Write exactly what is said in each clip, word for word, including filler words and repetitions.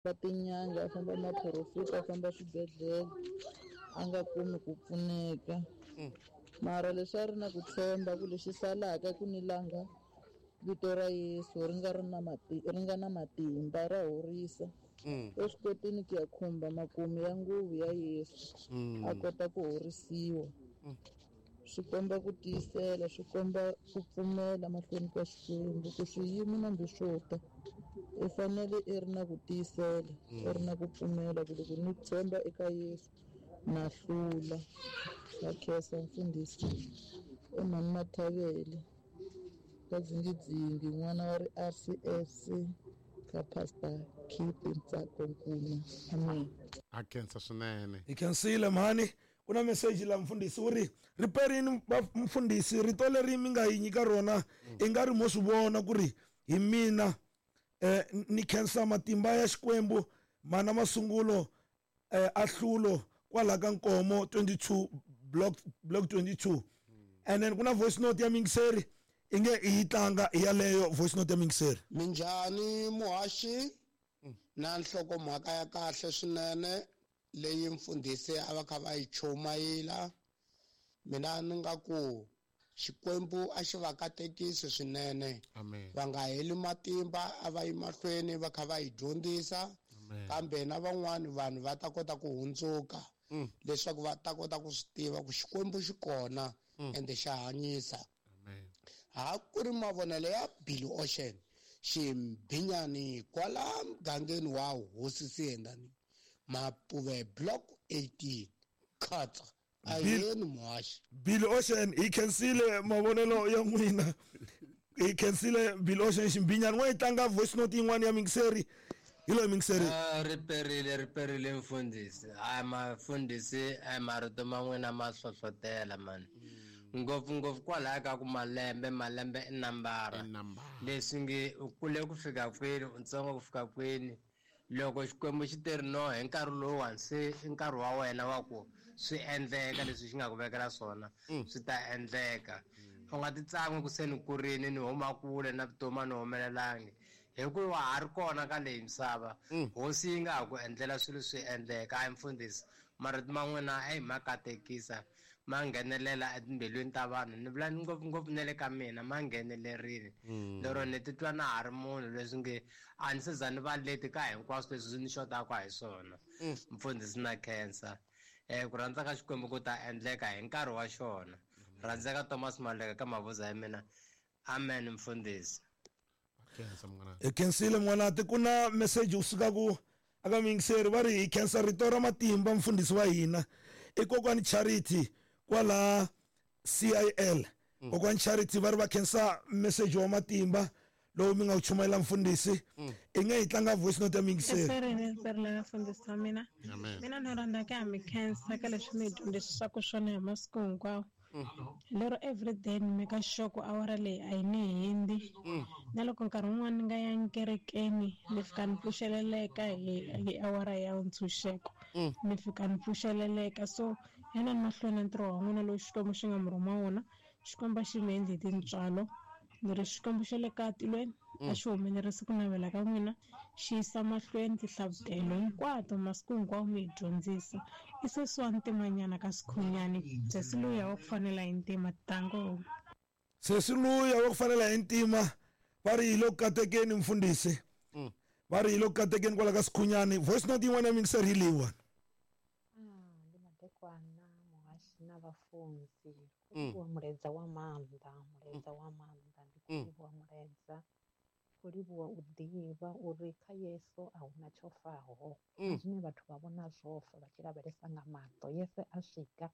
Tinyanga a famba maporofita a famba swibedhlele a nga kumi ku pfuneka mara leswi a ri na ku tshemba ku lexi salaka ku ni langa vito ra Yesu ri nga ri na mati ri nga na matimba ra horisa u swi kotini ku ya khumba makumu ya nguvu ya Yesu a kota ku horisiwa swi komba ku tiyisela swi komba ku pfumela mahlweni ka Xikwembu ku swiyimo nambi swo ta i fanele i ri na ku tiyisela i ri na ku pfumela ku loko ni tshemba eka Yesu na hlula na khensa mfundhisi i mhani Mathavele ka Dzingidzingi n'wana wa ri R C S ka Pastor Keith Ntsako Nkuna amen a khensa swinene hi khensile mhani ku na message la mfundhisi u ri riperini mfundhisi rito leri mi nga yi nyika rona i nga ri mo swi vona ku ri hi mina eh ni khensa matimba ya Xikwembu mana masungulo eh ahlulo kwala ka Nkomo twenty-two block block twenty-two and then kuna voice note ya mingiseri inge yi tlanga yaleyo voice note ya mingiseri minjhani muhaxi na nhlokomhaka ya kahle swinene leyi mfundhisi a va kha va yi chumayela mina ni nga ku Xikwembu a xi va katekisi swinene va nga heli matimba a va yi mahlweni va kha va yi dyondzisa kambe na van'wani vanhu va ta kota ku hundzuka leswaku va ta kota ku swi tiva ku Xikwembu xi kona ende xa hanyisa ha ku ri mavonelo ya Billy Ocean ximbinyani kwala mugangeni wa Hosi Siyendani Mapuve block eighteen khatsa ayeni muhaxi Billy Ocean hi khensile mavonelo ya n'wina hi khensile Billy Ocean ximbinyani n'wa yi tlanga voice note yin'wana ya mingiseri hi loyi mingiseri riperile riperile mfundhisi a mafundhisi a marito man'wina ma hlohlotela mani ngopfungopfu kwalaya ka ku malembe malembe i nambara leswi nge u kule ku fika kwini u ntsongo ku fika kwini loko Xikwembu xi teri no hi nkarhi lowuwani se i nkarhi wa wena wa ku swi endleka leswi xi nga ku vekela swona swi ta endleka u nga ti tsan'wi ku se ni kurini ni huma kule na vutomi a ni humelelangi hikuva wa ha ri kona ka leyi misava hosi yi nga ha ku endlela swilo swi endleka a mfundhisi marito ma n'wina a hi ma katekisa ma nghenelela etimbilwini ta vanhu ni vula ngopfungopfu na le ka mina ma nghenelerile lero ni titwa na ha ri munhu leswi nge a ni se za ni va leti ka hinkwaswo leswi ni xotaka hi swona mfundhisi na khensa um ku rhandza ka Xikwembu ku ta endleka hi nkarhi wa xona rhandzeka Thomas Maleka ka mavuza ya mina amen mfundhisi hi khensile n'wanati ku na message wu suka ku aka mingiseri va ri hi khensa rito ra matimba mfundhisi wa hina i kokwani Charity kwala C I L kokwani Charity va ri va khensa message wa matimba lowu mi nga wu chumayela mfundhisi i nge hi tlanga voice note ya mingiseri riperile mfundhisi wa mina mina ni rhandza ka mi khensa ka leswi mi dyondzisaka swona hi masiku hinkwawo lero everyday ni meka sure ku awara leyi a yi ni hindi na loko nkarhi wun'wani ni nga yangi kerekeni ni fika ni pfuxeleleka hi hi awara ya ntshunxeko ni fika ni pfuxeleleka so yanani mahlweni na ntirho wa n'wina lowu Xikwembu xi nga mi rhuma wona Xikwembu a xi mi endli hi tintswalo ni ri Xikwembu xa le ka tilweni a xi humelerisi ku navela ka n'wina xi yisa mahlweni tihlavutelo hinkwato masiku hinkwawo mi hi dyondzisa i sesi wa ntimanyana ka Sikhunyani sesi luya wa ku fanela hi ntima tango sesi luya wa ku fanela hi ntima va ri hi le ku katekeni mfundhisi va ri hi le ku katekeni kwala ka Sikhunyani voice note yin'wana ya mingiseri hi leyiwani ndi madekwana muhaxi na vafunzi livhuwa mulaedza wa maanḓa mulaedza wa maanḓa ndi khou livhuwa mulaedza khou livhuwa u ḓivha uri kha Yesu a huna tsho faho zwine vhathu vha vhona zwo fa vha tshi lavhelesa nga maṱo Yesu a swika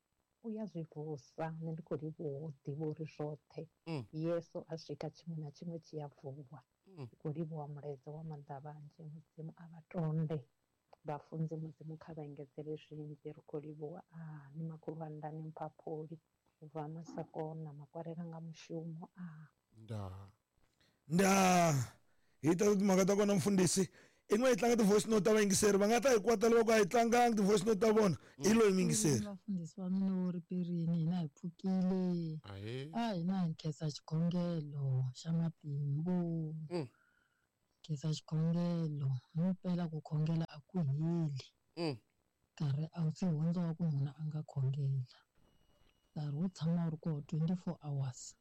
u ya zwi vusa nṋe ndi khou livhuwa u ḓivha uri zwoṱhe Yesu a swika tshiṅwe na tshiṅwe tshi ya vuwa ndi khou livhuwa mulaedza wa maanḓa vhanzhi Mudzimu a vha tonde vhafunzi Mudzimu kha vha engedzele zwinzhi ri khou livhuwa a ni makhulwanda ni mphaphuli ubva Masakona makwarela nga mushumo a nda nda hi ta timhaka ta kona mfundhisi i n'we hi tlanga ti-voice note ta vayingiseri va nga ta hi kwata loko a hi tlangangi ti-voice note ta vona i loyi miyingiseri vafundhisi wa mina wo riperini hina hi pfukile a hina hi khensa xikhongelo xa matimbu Khensa xikhongelo himpela ku khongela a ku heli. Nkarhi a wu se hundza wa ku munhu a nga khongela. Nkarhi wu tshama wu ri kona twenty-four hours.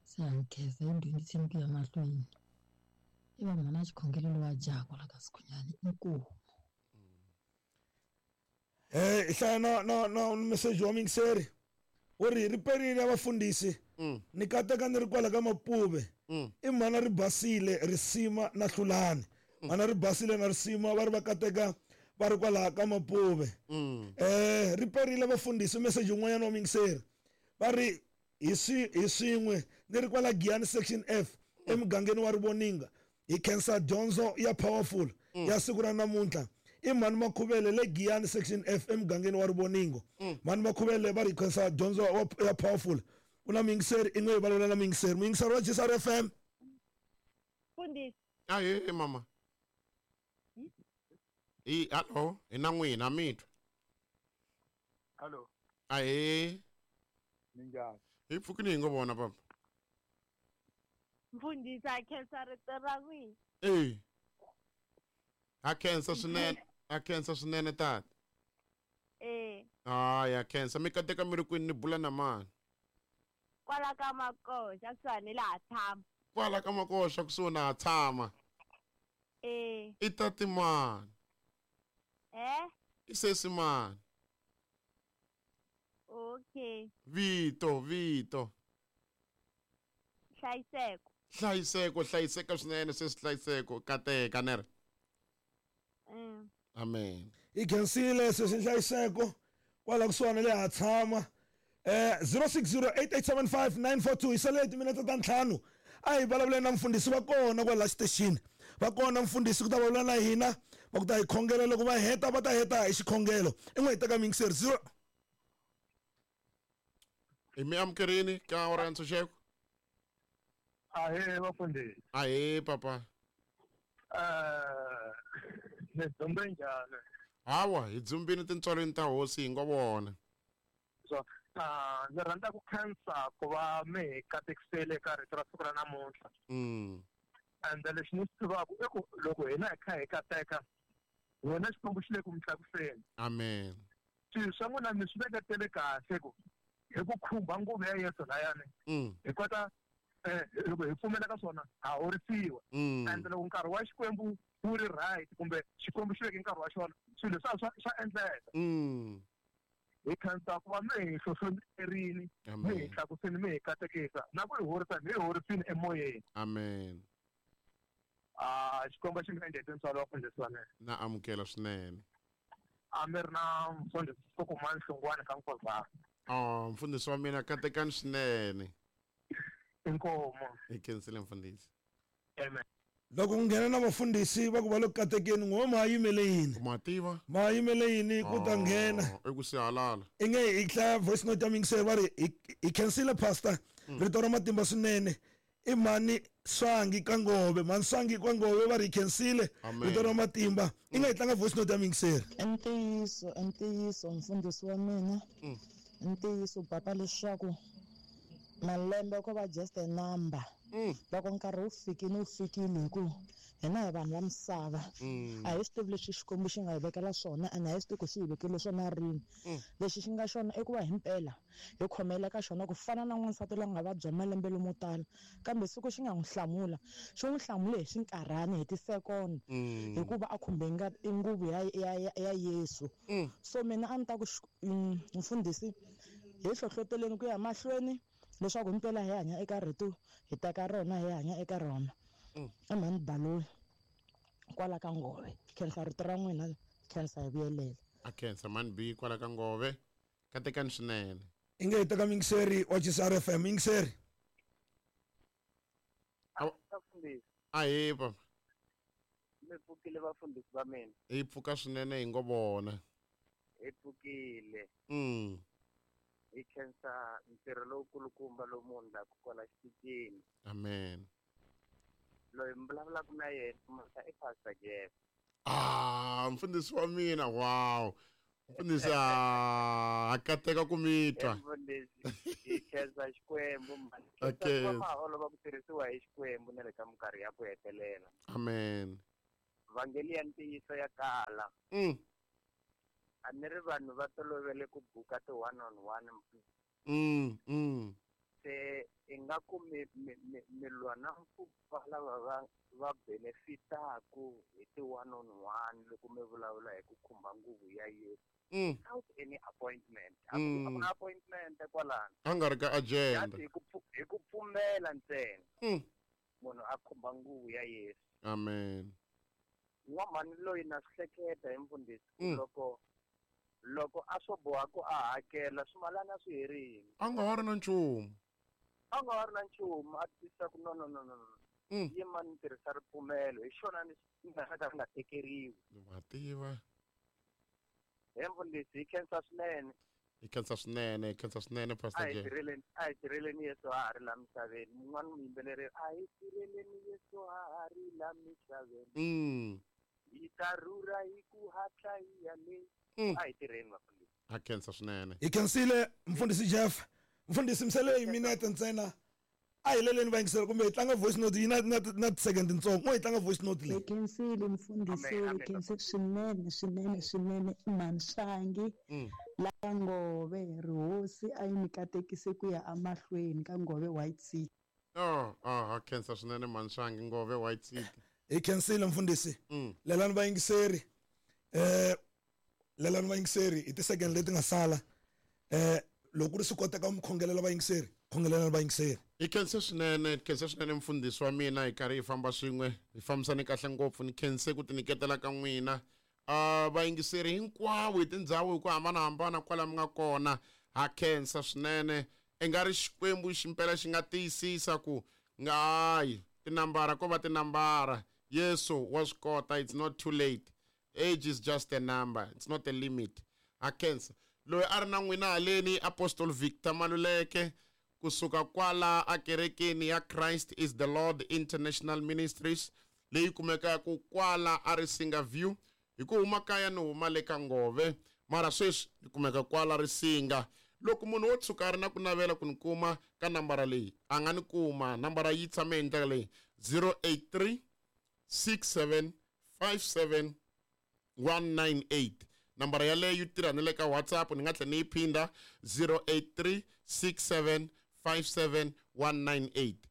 Se ha nkhensa hi dyondziseni ku ya mahlweni. I va mhana xikhongelo lowa jaha kwala ka Sikhunyani inkomu. Eh hlaya na na na message wa mingiseri wu ri ri perile ya vafundhisi ni kateka ni ri kwala ka Mapuve i mhana ri basile risima na hlulani mhana ri basile na risima va ri va kateka va ri kwala ka Mapuve eh ri perile vafundhisi message yin'wanyana wa mingiseri va ri hi swi hi swin'we ni ri kwala Giyani section F emugangeni wa Rivoninga hi khensa dyondzo ya powerful ya siku ra namuntlha i mhani Makhuvele le Giyani section F emugangeni wa Rivoningo mhani Makhuvele va ri khensa dyondzo ya powerful ku na muyingiseri i n'we hi vulavula na muyingiseri muyingiseri wa G S R F M Mfundhisi ahe mama i hallo hi na n'wina mi twa hallo ahe minjhani hi pfukini hi ngo vona papa Mfundhisi a khensa rito ra n'wina eh a khensa swinene a khensa swinene tata eh hayi a khensa mi kateka mi ri kwini ni bula na mani kwala ka Makoxa kusuhani laha tshama kwala ka Makoxa kusuhi na tshama eh i tati mani eh i sesi mani okay vito vito Hlayiseko hlayiseko hlayiseka swinene sesi Hlayiseko kateka nere mm. Amen hi khensile sesi Hlayiseko kwala kusuhani le ha tshama eh zero six zero eight eight seven five nine four two hi sale timinete ta ntlhanu a hi vulavuleni na mfundhisi va kona kwala xitexini va kona mfundhisi ku ta vulavula na hina va ku ta hi khongela loko va heta va ta heta hi xikhongelo i n'we hi teka muyingiseri zero hi mi amukerini ka awara ya ntshunxeko ahee vafundhisi ahee papa eh ni dzumbe njhani hawa hi dzumbini tintswalweni ta hosi hi ngo vona so ah ndzi rhandza ku khensa ku va mi hi katekisele ka rito ra siku ra namuntlha mm ende lexi ni swi tivaka i ku loko hina hi kha hi kateka wena Xikwembu xi le ku mi tlakuseni amen swilo swa n'wina mi swi veketele kahle ku hi ku khumba nguvu ya Yesu layani hi kota eh loko hi pfumela ka swona ha horisiwa ende loko nkarhi wa Xikwembu wu ri right kumbe Xikwembu xi veke nkarhi wa xona swilo swa swa swa endleka hi khensa ku va mi hi hlohloterini mi hi tlakuseni mi hi katekisa na ku hi horisa mi hi horisini emoyeni amen ah Xikwembu xi mi endle tintswalo wa mfundhisi wa mina na amukela swinene a mi ri na mfundhisi Sukumani Hlungwani ka Nkozana oh mfundhisi wa mina katekani swinene inkomo hi khensile mfundhisi amen loko ku nghena na vafundhisi va ku va le ku katekeni n'we ma yimele yini ma tiva ma yimele yini ku ta nghena i ku sihalala i nge hi hlaya voice note ya muyingiseri va ri hi khensile pastor rito ra matimba swinene i mhani Swangi ka Ngove mhani Swangi ka Ngove va ri hi khensile rito ra matimba i nga hi tlanga voice note ya muyingiseri i ntiyiso i ntiyiso mfundhisi wa mina i ntiyiso papa leswaku malembe ko va just a number loko nkarhi wu fikile wu fikile hi ku hina hi vanhu va misava a hi swi tivi leswi Xikwembu xi nga hi vekela swona ene a hi swi tivi ku xi hi vekele swona rini lexi xi nga xona i ku va himpela hi khomela ka xona ku fana na n'wansati loyi a nga vabya malembe lomo tala kambe siku xi nga n'wi hlamula xi n'wi hlamule hi xinkarhana hi tisekoni hikuva a khumbe ngati nguvu ya ya ya Yesu so mina a ni ta ku mfundhisi hi hlohloteleni ku ya mahlweni leswaku himpela hi hanya eka rito hi teka rona hi hanya eka rona i mhani Baloyi kwala ka Ngove khensa rito ra n'wina khensa hi vuyelela a khensa mhani B kwala ka Ngove katekani swinene i nge hi teka muyingiseri wa G S R F M muyingiseri ahee papa mi pfukile vafundhisi va mina hi pfuka swinene hi ngo vona hi pfukile mm hi khensa ntirho lowukulukumba lowu mu endlaka kwala xitichini amen loyi mi vulavulaka na yena mhaka i Pastor Jeff ah mfundhisi wa mina wow Mfundhisi a kateka ku mi twa. Mfundhisi hi khensa Xikwembu mani. Okay. Ma olova ku tirhisiwa hi Xikwembu na le ka minkarhi ya ku hetelela. Amen. Vhangeli ya ntiyiso ya kala. Mm. A ni ri vanhu va tolovele ku buka ti one on one. Mm, mm. Se ingaku mi mi mi lwa na ku lava va va benefitaku hi ti one on one loko mi vulavula hi ku khumba nguvu ya Yesu. Mm. Without any appointment. A ku na appointment kwalano. A nga ri ka agenda. Hi ku hi ku pfumela ntsena. Mm. Munhu a khumba nguvu ya Yesu. Amen. N'wamhani loyi na swi hleketa hi mfundhisi loko loko a swo boha ku a hakela swimalana swi herile. A nga ha ri na nchumu. A nga ha ri na nchumu a tisa ku no no no no. Yima ni tirhisa ripfumelo hi xona ni nga ka nga tekeriwi. Wa tiva. He mfundhisi hi khensa swinene. Hi khensa swinene, hi khensa swinene Pastor A hi J. tirheleni, a hi tirheleni Yesu a ha ri la misaveni. Mun'wana muyimbeleri a hi tirheleni Yesu a ha ri la misaveni. Mm. Hi ta rhurha hi ku hatla hi ya le. A hi tirheni vafundhisi. A khensa swinene. Hi khensile mfundhisi Jeff. Mfundhisi misele hi minete ntsena. A hi leleni vayingiseri kumbe hi tlanga voice note yi na na na ti-second tintsongo. Mo hi tlanga voice note leyi. Hi khensile mfundhisi, hi khense swinene swinene swinene Manshangi la Ngove rihosi a yi mi katekise ku ya emahlweni ka Ngove White City. Oh, oh, a khensa swinene Manshangi Ngove White City. Hi khensile mfundhisi. Lelani vayingiseri. Eh lelani vayingiseri hi ti-second leti nga sala. Eh loko ri swi koteka mi khongelela vayingiseri, khongelela vayingiseri. Hi khense swinene, hi khense swinene mfundhisi wa mina hi karhi hi famba swin'we, hi fambisane kahle ngopfu, ni khense ku tinyiketela ka n'wina. Uh, vayingiseri hinkwavo hi tindhawu hi ku hambanahambana kwala mi nga kona, ha khensa swinene. I nga ri Xikwembu ximpela xi nga tiyisisa ku nga hayi tinambara ko va tinambara. Yesu wa swi kota, it's not too late. Age is just a number, it's not a limit. Ha khensa. Loyi a ri na n'wina haleni Apostle Victor Maluleke kusuka kwala akerekeni ya Christ is the Lord International Ministries leyi kumekaka kwala a Risinga View. Hi ku huma kaya ni huma le ka Ngove, mara sweswi ni kumeka kwala Risinga. Loko munhu wo tshuka a ri na ku navela ku ni kuma ka nambara leyi, a nga ni kuma. Nambara yi tshame hi ndlela leyi: zero eight three six seven five seven one nine eight. Nambara yaleyo yi tirha ni le ka WhatsApp, ni nga tlhela ni yi phinda zero eight three six seven five seven one nine eight.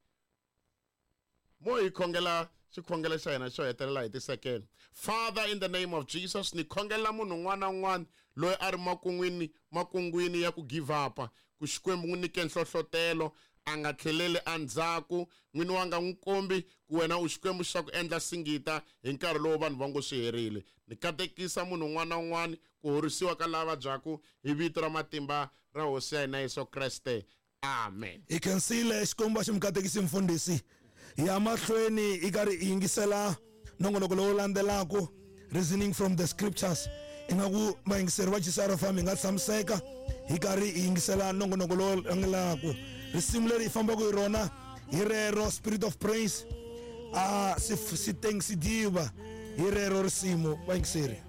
Mo hi khongela xikhongelo xa hina xo hetelela hi ti-second. Father, in the name of Jesus, ni khongela munhu un'wana na un'wana loyi a ri makun'wini makungwini ya ku give up, ku Xikwembu n'wi nyike nhlohlotelo, a nga tlheleli endzhaku. N'wini wa nga n'wi kombi ku wena u Xikwembu xa ku endla singita hi nkarhi lowu vanhu va ngo swi herile. Ni katekisa munhu un'wana na un'wana ku horisiwa ka lava vabyaku hi vito ra matimba ra Hosi ya hina Yesu Kreste. Amen. Hi khensile Xikwembu a xi mi katekisi mfundhisi. Hi ya mahlweni hi karhi hi yingisela nongonoko lowu landzelaka, Reasoning from the Scriptures. Ingaku vayingiseri va G C R F M hi nga tshamiseka hi karhi hi yingisela nongonoko lowu landzelaka. Risimu leri hi fambaka hi rona hi rero Spirit of Praise, a Siteng Sidiba, hi rero risimu vayingiseri.